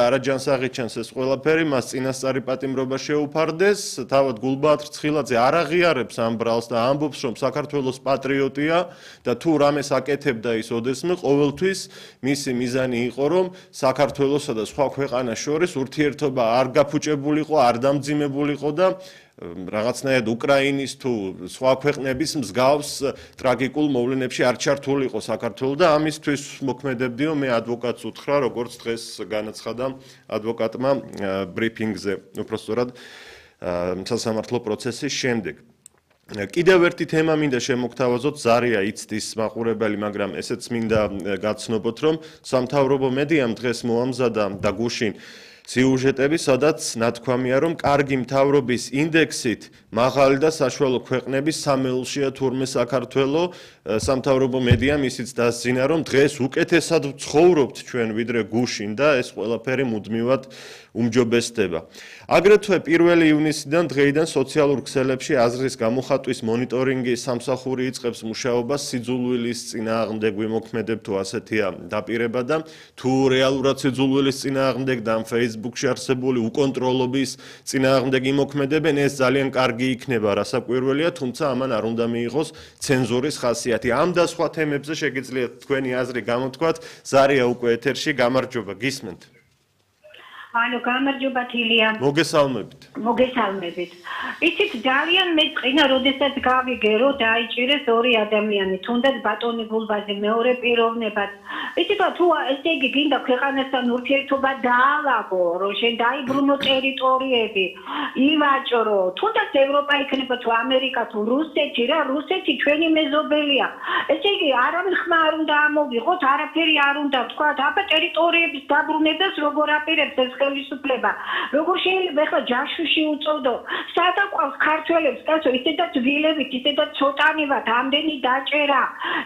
არაჯანსაღი ჩანს ეს ყველაფერი, მას წინასწარი პატიმრობა შეუფარდეს, თავად გულბაათრ ცხილაძე არ აღიარებს ამ ბრალს და ამბობს, რომ საქართველოს პატრიოტია და თუ რამეს აკეთებდა ის ოდესმე, ყოველთვის მისი მიზანი იყო, რომ საქართველოსა და სხვა ქვეყანას შორის ურთიერთობა არ გაფუჭებულიყო, არ დამძიმებულიყო და რაღაცნაირად უკრაინის თუ სხვა ქვეყნების მსგავს ტრაგიკულ მოვლენებში არ ჩართულიყო საქართველო და ამისთვის მოქმედებდიო მე ადვოკატს უთხრა, როგორც დღეს განაცხადა ადვოკატმა ბრიფინგზე, უпростоრად სასამართლო პროცესის შემდეგ. კიდევ ერთი თემა მინდა შემოგთავაზოთ, ზარია იცდის მაყურებელი, მაგრამ ესეც მინდა გაცნობოთ, რომ სამთავრობო მედიამ დღეს მოამზადა და გუშინ სიუჟეტები, სადაც ნათქვამია, რომ კარგი მთავრობის ინდექსით მაღალი და საშუალო ქვეყნების სამეულშია თურმე საქართველო. სამთავრობო მედიამ ისიც დასძინა, რომ დღეს უკეთესად ვცხოვრობთ ჩვენ ვიდრე გუშინ და ეს ყველაფერი მუდმივად უმჯობესდება. აგრეთვე 1 ივნისიდან დღეიდან სოციალურ ქსელებში აზრის გამოხატვის მონიტორინგი სამსახური იწყებს მუშაობას სიძულვილის წინააღმდეგ ვიმოქმედებ თუ ასეთია დაპირება და თუ რეალურად სიძულვილის წინააღმდეგ და Facebook-ში არსებული უკონტროლობის წინააღმდეგ იმოქმედებენ, ეს ძალიან კარგი იქნება, რასაკვირველია, თუმცა ამან არ უნდა მიიღოს ცენზურის ხასიათი. ამ და სხვა თემებზე შეგიძლიათ თქვენი აზრი გამოთქვათ. ზარია უკვე ეთერში, გამარჯობა, გისმენთ. ანუ გამარჯობა თილია. მოგესალმებით. მოგესალმებით. იცით ძალიან მეწყინა, როდესაც გავიგე, რომ დაიჭირეს ორი ადამიანი, თუნდაც ბატონი გულბაძე მეორე პიროვნებად. იცით თუ ესე იგი გინდა ქვეყანასთან ურთიერთობა დაალაგო, რომ შენ დაიბრუნო ტერიტორიები, ივაჭრო, თუნდაც ევროპა იქნება თუ ამერიკა თუ რუსეთი რა, რუსეთი ჩვენი მეზობელია. ესე იგი არავინ ხმა არ უნდა ამოვიღოთ, არაფერი არ უნდა თქვა, აბა ტერიტორიების დაბრუნებას როგორ აპირებს ეს ხელისუფლება. როგორ შეიძლება ახლა ჯაშუში უწოდო, სადაყვავს ქართველებს, კაცო, ისედაც ვილებით, ისედაც ცოტანივად, ამდენი დაჭერა.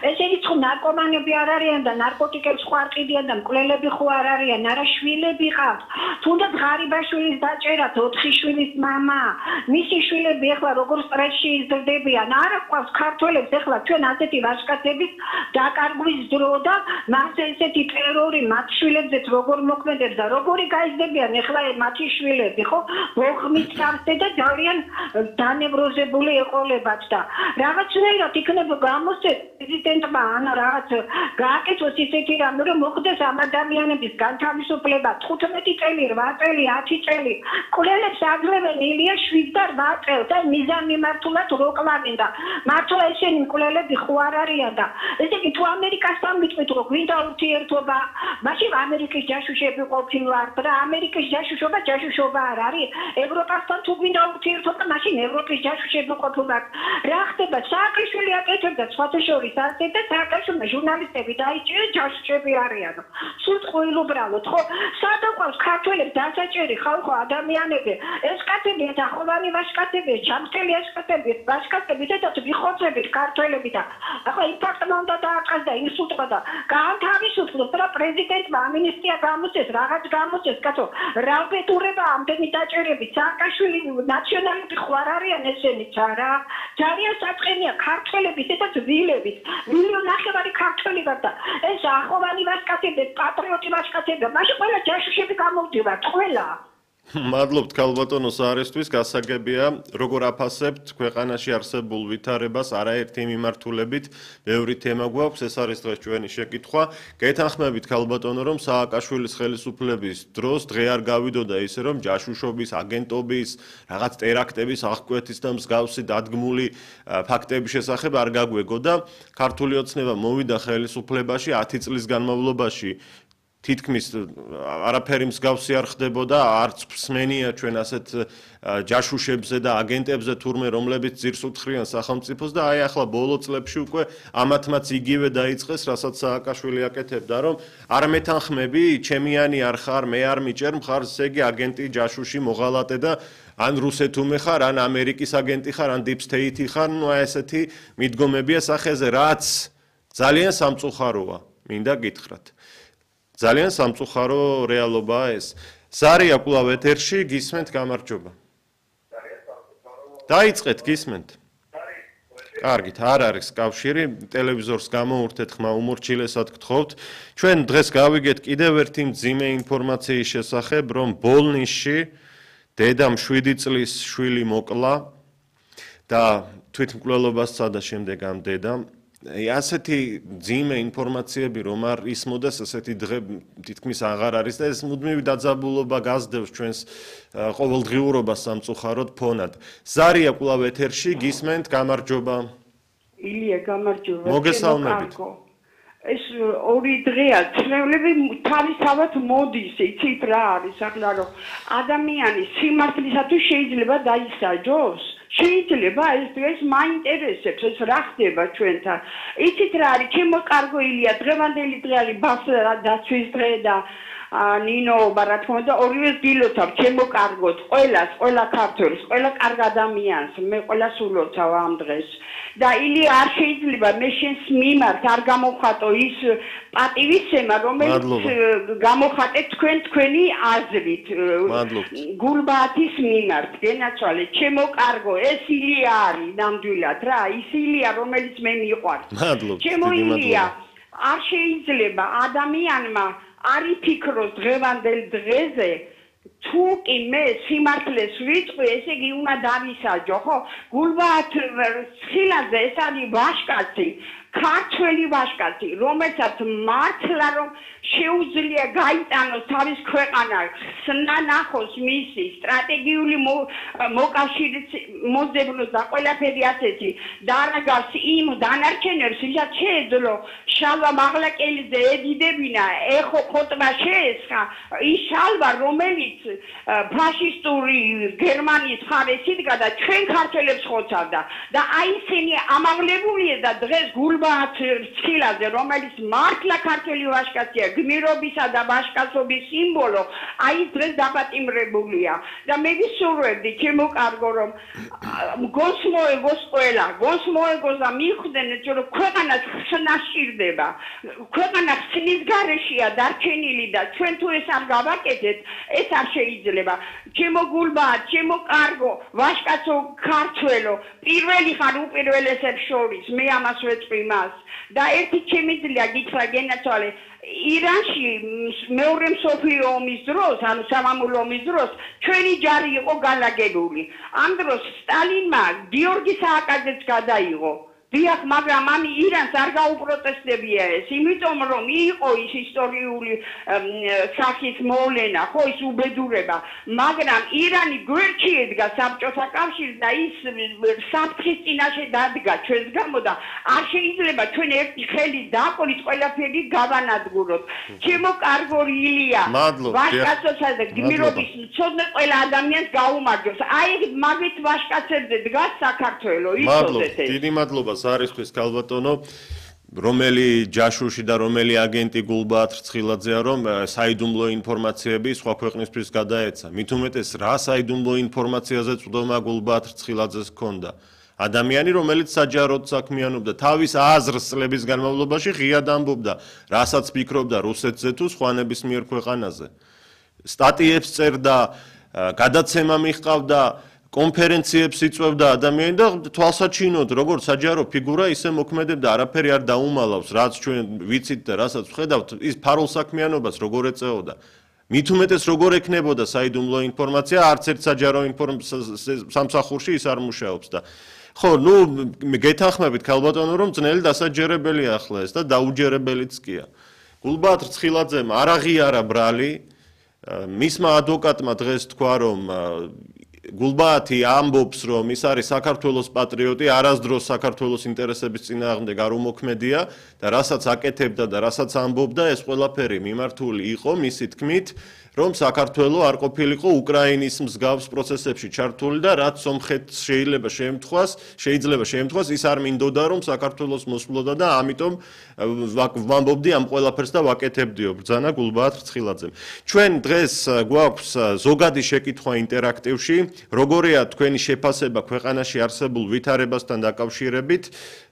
ესენი ხო ნარკომანები არ არიან და ნარკოტიკებს ხო არ ყიდიან და მკვლელები ხო არ არიან, არა შვილები ყავთ. თუნდაც ღარიბაშვილის დაჭერა, 4 შვილის მამა, მისი შვილები ახლა როგორ სტრესში იზრდებიან. არა ყავს ქართველებს ახლა ჩვენ ასეთი ვაჟკაცების დაკარგვის დრო და მას ესეთი ტერორი მათ შვილებზეც როგორ მოქმედებს და როგორი გაიზრდებიან ახლა მათი შვილები, ხო? ბოხმის სამსე და ძალიან დანევროზებული ეყოლებათ და რაღაცნაირად იქნება გამოსცეს პრეზიდენტმა ან რაღაც გააკეთოს ისეთი რამე, რომ მოხდეს ამ ადამიანების განთავისუფლება 15 წელი, 8 წელი, 10 წელი. კვლელებს აგლებენ ილია 7 და 8 წელს და მიზანმიმართულად რო კლავენ და მართლა ესენი მკვლელები ხო არ არიან და ესე იგი თუ ამერიკასთან მიტყვით რომ გვინდა ურთიერთობა, მაშინ ამერიკის ჯაშუშები ყოფილვართ და ამერიკის ჯაშუშობა არ არის. ევროპასთან თუ გვინდა ურთიერთობა, მაშინ ევროპის ჯაშუშები ყოფილვართ. რა ხდება? სააკაშვილი აკეთებდა სხვათა შორის ასე და სააკაშვილმა ჟურნალისტები დაიჭირეს, ჯაშუშები არიან. სულ ყოილუბრალოდ, ხო? სადაყვავს ქართველებს დასაჭერი ხალხო ადამიანები. ეს კაცები ახალანი ვაჟკაცები, ჩამწკელი ვაჟკაცები, ესეც ვიხოცებით ქართველები და ახლა იმ ფაქტმა უნდა დააწყეს და ისუტყვა და გაანთავისუფლოს და პრეზიდენტმა ამინისტია გამოსცეს, რაღაც გამოსცეს, კაცო, რალბედურება ამდენი დაჭერები, სააკაშვილი ნაციონალები ხო არ არიან ესენიც არა? ძალიან საწყენია ქართველები, ესეც ვილებით, 1,5 ქართველი ვარ და ეს ახალანი ვაჟკაცები, პატრიოტი ვაჟკაცები, მაშინ ყველა ჯაშუშები გამოვდივართ, ყველა. მადლობთ ქალბატონო საარესთვის, გასაგებია, როგორ აფასებთ ქვეყანაში არსებულ ვითარებას არაერთი მიმართულებით, ბევრი თემა გვაქვს, ეს არის დღეს ჩვენი შეკითხვა. გეთანხმებით ქალბატონო, რომ სააკაშვილის ხელისუფლების დროს დღე არ გავიდოდა ისე, რომ ჯაშუშობის, აგენტობის, რაღაც ტერაქტების, აღკვეთის და მსგავსი დადგმული ფაქტების შესახებ არ გაგვეგოდა. ქართული ოცნება მოვიდა ხელისუფლებაში 10 წლის განმავლობაში. თითქმის არაფერი მსგავსი არ ხდებოდა, არც მსმენია ჩვენ ასეთ ჯაშუშებზე და აგენტებზე თურმე, რომლებიც ძირს უთხრიან სახელმწიფოს და აი ახლა ბოლო წლებში უკვე ამათმაც იგივე დაიწყეს, რასაც სააკაშვილი აკეთებდა, რომ არ მეთანხმები, ჩემიანი არ ხარ, მე არ მიჭერ მხარს, ესე იგი აგენტი, ჯაშუში, მოღალატე და ან რუსეთუმე ხარ, ან ამერიკის აგენტი ხარ, ან deep state ხარ, ნუ აი ესეთი მიდგომებია სახეზე, რაც ძალიან სამწუხაროა, მინდა გითხრათ. ძალიან სამწუხარო რეალობაა ეს. ზარია კვლავ ეთერში, გისმენთ, გამარჯობა. დაიწყეთ, გისმენთ. კარგით, არ არის კავშირი, ტელევიზორს გამოურთეთ ხმა უმორჩილესად გთხოვთ. ჩვენ დღეს გავიგეთ კიდევ ერთი მძიმე ინფორმაციის შესახებ, რომ ბოლნისში დედამ 7 წლის შვილი მოკლა და თვითმკვლელობას სცადა შემდეგ ამ დედამ. ასეთი ძიმე ინფორმაციები რომ არ ისმოდეს, ასეთი დღე თითქმის აღარ არის და ეს მუდმივი დაძაბულობა გასდევს ჩვენს ყოველდღიურობას სამწუხაროდ ფონად. ზარია კვლავ ეთერში, გისმენთ, გამარჯობა. ილია, გამარჯობა. მოგესალმებით. ეს ორი დღეა, ცნევლები თავისთავად მოდის, იცით რა არის, ახლა რომ ადამიანი სიმართლისათვის შეიძლება დაისაჯოს. შეიძლება ეს დღეს მაინტერესებს ეს რა ხდება ჩვენთან. იცით რა არის, ჩემო კარგო ილია, დღევანდელი დღე არის ბავშვთა დაცვის დღე და ნინოობა რა თქმა უნდა ორივეს გილოცავ, ჩემო კარგოთ, ყველა ქართველს, ყველა კარგ ადამიანს, მე ყველას ულოცავ ამ დღეს. და ილია არ შეიძლება მე შენს მიმართ არ გამოვხატო ის პატივისცემა, რომელიც გამოხატე თქვენი აზრით. გულბათის მიმართ, გენაცვალე, ჩემო კარგო, ეს ილია არის ნამდვილად რა, ის ილია, რომელიც მე მიყვარს. ჩემო ილია, არ შეიძლება ადამიანმა არ იფიქროს დღევანდელ დღეზე თუ კი მე სიმართლეს ვიტყვი, ესე იგი უნდა დავისაჯო, ხო? გულბაათ ხილაძე ეს არის ვაჟკაცი, ქართველი ვაჟკაცი, რომელსაც მართლა რომ შეუძლია გაიტანოს თავის ქვეყანა, ხსნა ნახოს მისი სტრატეგიული მოკავშირის მოძებნოს და ყველაფერი ასეთი და არაგავს იმ დანარჩენებს, ვისაც შეეძლო შალვა მაღლაკელიძე ედიდებინა, ეხო ხოტბა შეესხა, ის შალვა, რომელიც ფაშისტური გერმანიის მხარეს იდგა და ჩვენ ქართველებს ხოცავდა და აი ისინი ამაღლებულია და დღეს გულბაათ ხილაძე, რომელიც მართლა ქართველი ვაჟკაცია, გმირობისა და ვაჟკაცობის სიმბოლო, აი დღეს დაპატიმრებულია და მე ვისურვებდი, ჩემო კარგო, რომ გონს მოეგოს ყველა, გონს მოეგოს და მიხვდნენ, რომ ქვეყანა ხსნა სჭირდება, ქვეყანა ხსნის გარეშეა დარჩენილი და ჩვენ თუ ეს არ გავაკეთეთ, ეს არ შეიძლება. ჩემო გულბაათ, ჩემო კარგო, ვაჟკაცო, ქართველო, პირველი ხარ უპირველესებს შორის, მე ამას ვეწყვილ მას და ერთი ჩემი ძლია გითხრა გენაცვალე, ირანში მეორე მსოფლიო ომის დროს, ანუ სამამულო ომის დროს, ჩვენი ჯარი იყო განლაგებული. ამ დროს სტალინმა გიორგი სააკაძეც გადაიღო. დიახ, მაგრამ ამ ირანს არ გაუპროტესტებია ეს, იმიტომ რომ იყო ის ისტორიული სახის მოვლენა, ხო, ის უბედურება, მაგრამ ირანი გვერდში ედგა საბჭოთა კავშირს და ის საფრთხის წინაშე დადგა ჩვენს გამო და არ შეიძლება ჩვენ ერთი ხელით დაყოლით ყველაფერი გავანადგუროთ. ჩემო კარგო ილია, ვაჟკაცოსა და გმირობის მცოდნე ყველა ადამიანს გაუმარჯოს. აი მაგით ვაჟკაცებზე დგას საქართველო, იცოდეთ ეს. დიდი მადლობა არისთვის ქალბატონო, რომელი ჯაშუში და რომელი აგენტი გულბაათ რცხილაძეა, რომ საიდუმლო ინფორმაციები სხვა ქვეყნისთვის გადაეცა. მით უმეტეს რა საიდუმლო ინფორმაციაზე წვდომა გულბაათ რცხილაძეს ჰქონდა. ადამიანი, რომელიც საჯაროდ საქმიანობდა, თავის აზრს წლების განმავლობაში ღიად ამბობდა, რასაც ფიქრობდა რუსეთზე თუ სხვა ნებისმიერ ქვეყანაზე. სტატიებს წერდა, გადაცემა მიჰყავდა, კონფერენციებს იწვევდა ადამიანი და თვალსაჩინოდ, როგორც საჯარო ფიგურა, ისე მოქმედებდა, არაფერი არ დაუმალავს, რაც ჩვენ ვიცით და რასაც ვხედავთ, ის ფარულ საქმიანობას როგორ ეწეოდა. მით უმეტეს როგორ ექნებოდა საიდუმლო ინფორმაცია, არც ერთ საჯარო სამსახურში ის არ მუშაობს და ხო, ნუ გეთანხმებით ქალბატონო, რომ ძნელი დასაჯერებელია ახლა ეს და დაუჯერებელიც კია. გულბაათ რცხილაძემ არ აღიარა ბრალი, მისმა ადვოკატმა დღეს თქვა, რომ გულბაათი ამბობს, რომ ის არის საქართველოს პატრიოტი, არასდროს საქართველოს ინტერესების წინააღმდეგ არ უმოქმედია და რასაც აკეთებდა და რასაც ამბობდა, ეს ყველაფერი მიმართული იყო მისი თქმით, რომ საქართველო არ ყოფილიყო უკრაინის მსგავს პროცესებში ჩართული და რაც სომხეთს შეიძლება შეემთხვას, ის არ მინდოდა, რომ საქართველოს მოსვლოდა და ამიტომ ვამბობდი ამ ყველაფერს და ვაკეთებდიო, ბრძანა გულბაათ რცხილაძემ. ჩვენ დღეს გვაქვს ზოგადი შეკითხვა ინტერაქტივში, როგორია თქვენი შეფასება ქვეყანაში არსებულ ვითარებასთან დაკავშირებით,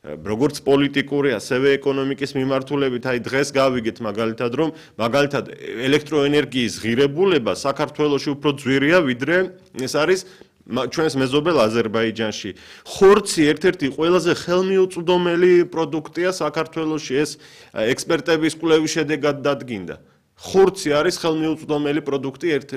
როგორც პოლიტიკური, ასევე ეკონომიკის მიმართულებით, აი დღეს გავიგეთ მაგალითად, რომ მაგალითად ელექტროენერგიის ღირებულება საქართველოში უფრო ძვირია, ვიდრე ეს არის ჩვენს მეზობელ აზერბაიჯანში ხორცი ერთ-ერთი ყველაზე ხელმიუწვდომელი პროდუქტია საქართველოში, ეს ექსპერტების კვლევის შედეგად დადგინდა. ხორცი არის ხელმიუწვდომელი პროდუქტი ერთ-ერთი